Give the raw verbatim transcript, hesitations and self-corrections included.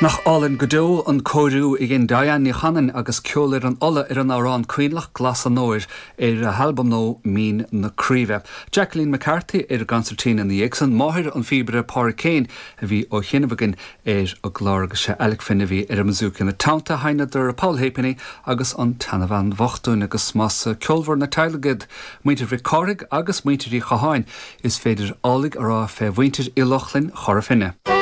Nach álainn go deo an cóiriú a dhein Diane Ní Chanainn agus Ceol ar an Uladh ar an amhrán Coinleach Glas an Óir ar a halbam nua Mín na Craoibhe. Jacqueline McCarthy ar consairtín ina dhiaidh san máthair an phíobaire Pádraig Kane a bhí á sheinm againn ar an gclár agus sé Alec Finn a bhí ar an mbouzouki ina teannta sheinneadar Poll Halfpenny agus an tSeanbhean Bhocht agus más ceolmhar na teaghlaigh iad muintir Mhic Cárthaigh agus muintir Uí Chatháin is féidir amhlaidh a rá fé mhuintir Uí Lochlainn Chora Finne.